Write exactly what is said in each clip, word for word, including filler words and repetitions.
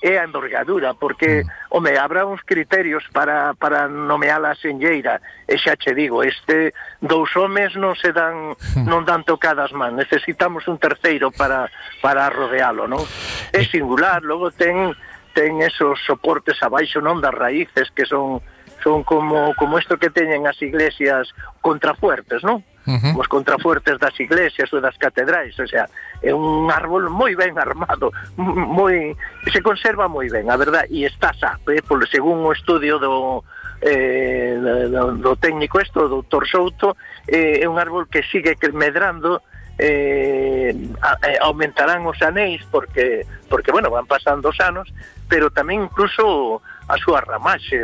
é a envergadura, porque, mm. home, habrá uns criterios para, para nomear a senlleira, e xa che digo, este dous homes non se dan non dan tocadas man, necesitamos un terceiro para, para rodealo, non? É singular, logo ten ten esos soportes abaixo, non, das raíces, que son son como como isto que teñen as iglesias contrafuertes, non? Uh-huh. Os contrafuertes das iglesias ou das catedrais, o sea, é un árbol moi ben armado, moi se conserva moi ben, a verdad, e está xa, eh, polo según o estudio do eh, do, do técnico isto, do doutor Souto, eh, é un árbol que sigue medrando, eh, a, eh, aumentarán os anéis porque porque bueno, van pasando os anos, pero tamén incluso a súa ramaxe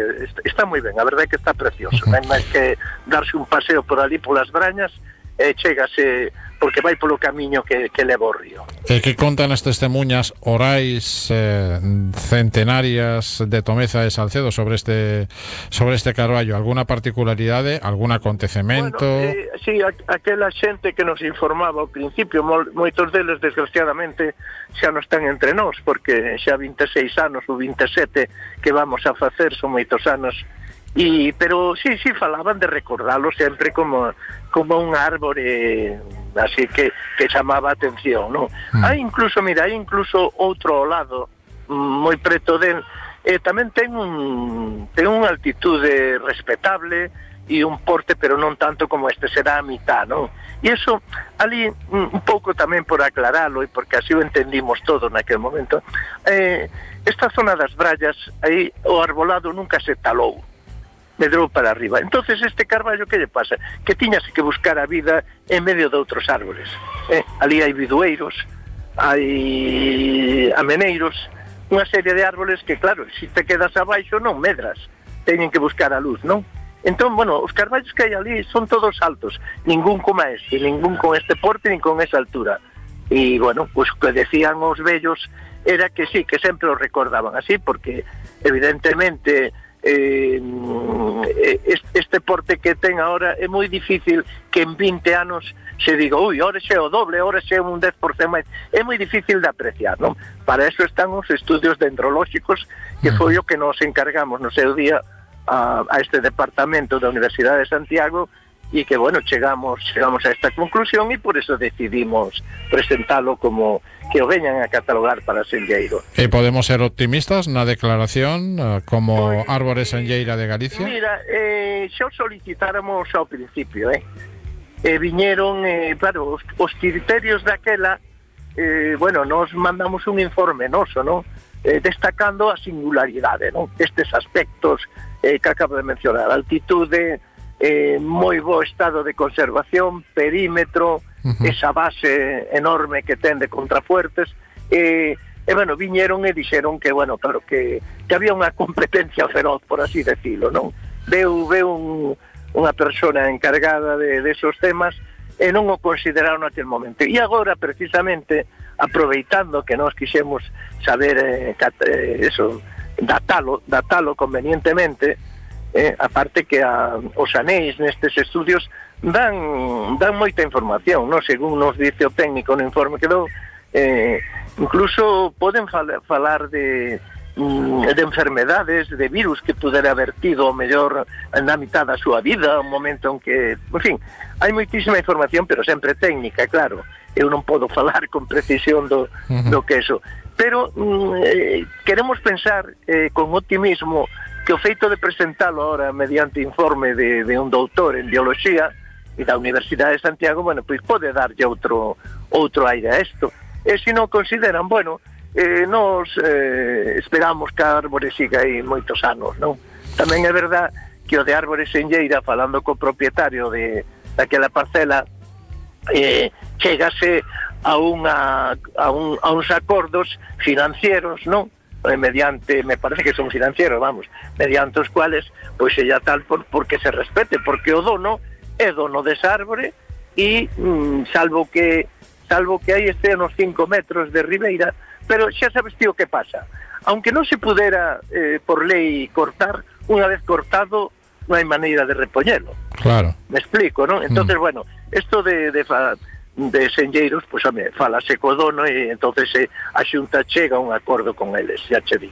está moi ben, a verdade é que está precioso. Uh-huh. Non é máis que darse un paseo por ali polas brañas e chégase, porque vai polo camiño que, que leva o río. E que contan as testemunhas orais eh, centenarias de Tomeza e Salcedo sobre este sobre este carballo? Alguna particularidade, algún acontecemento? Bueno, eh, sí, a, aquela xente que nos informaba ao principio, mo, moitos deles desgraciadamente xa non están entre nós, porque xa vinte e seis anos ou vinte e sete que vamos a facer, son moitos anos. Y, pero sí, sí, falaban de recordarlo sempre como como un árbore así que, que chamaba a atención, ¿no? Mm. Hai incluso, mira, hai incluso outro ao lado, moi preto del, eh, tamén ten un ten unha altitude respetable e un porte, pero non tanto como este, será a mitad, ¿no? E iso, ali, un pouco tamén por aclaralo, e porque así o entendimos todo naquele momento, eh, esta zona das Brallas, aí o arbolado nunca se talou, medrou para arriba. Entonces este carballo, que lle pasa? Que tiñase que buscar a vida en medio de outros árboles. Eh? Ali hai bidueiros, hai ameneiros, unha serie de árboles que, claro, se te quedas abaixo non medras, teñen que buscar a luz, non? Entón, bueno, os carballos que hai ali son todos altos, ningún como este, ningún con este porte, nin con esa altura. E, bueno, pues que decían os vellos era que sí, que sempre os recordaban así, porque evidentemente Eh, este porte que ten ahora é moi difícil que en vinte anos se diga, ui, ora xe o doble, ora xe un dez por cento máis, é moi difícil de apreciar, non? Para eso están os estudios dendrolóxicos, que foi o que nos encargamos no seu día a, a este departamento da Universidade de Santiago, e que, bueno, chegamos chegamos a esta conclusión e por eso decidimos presentalo como que o veñan a catalogar para senlleiro. E podemos ser optimistas na declaración como pues, árbore senlleira de Galicia? Mira, eh, xa o solicitáramos ao principio, eh? E viñeron, eh, claro, os, os criterios daquela, eh, bueno, nos mandamos un informe noso, non? Eh, destacando a singularidade, non? Estes aspectos eh, que acabo de mencionar, altitude, Eh, moi bo estado de conservación, perímetro, uh-huh. esa base enorme que ten de contrafuertes, e, e bueno, viñeron e dixeron que, bueno, claro, que, que había unha competencia feroz, por así decirlo, non? Veu, veu un, unha persona encargada de, de esos temas e non o consideraron naquele momento. E agora, precisamente, aproveitando que nós quixemos saber eh, cat, eh, eso, datalo, datalo convenientemente, Eh, aparte que a, os anéis nestes estudios dan dan moita información, no? Según nos dice o técnico no informe que dou, eh, incluso poden fal, falar de de enfermedades, de virus que pudera haber tido o mellor na mitad da súa vida, un momento en que, en fin, hai moitísima información, pero sempre técnica, claro. Eu non podo falar con precisión do, do que eso, pero eh, queremos pensar eh, con optimismo que o feito de presentalo ahora mediante informe de, de un doutor en biología e da Universidade de Santiago, bueno, pois pode darlle outro outro aire a isto. E se non consideran, bueno, eh, nos eh, esperamos que a árbore siga aí moitos anos, non? Tamén é verdad que o de árbore senlleira, falando co propietario de daquela parcela, eh, chegase a unha a, un, a uns acordos financieros, non? Mediante, me parece que son financieros, vamos, mediante os cuales pois ella tal por, porque se respete, porque o dono é dono desa árbore e mm, salvo que salvo que aí este nos cinco metros de ribeira, pero xa sabes tío que pasa, aunque non se pudera eh, por lei cortar, unha vez cortado non hai maneira de repoñelo. Claro. Me explico, ¿no? Entonces, mm. bueno, esto de, de, de senlleiros, pois, home, falase co dono e entonces eh, a xunta chega a un acordo con eles, xa che digo.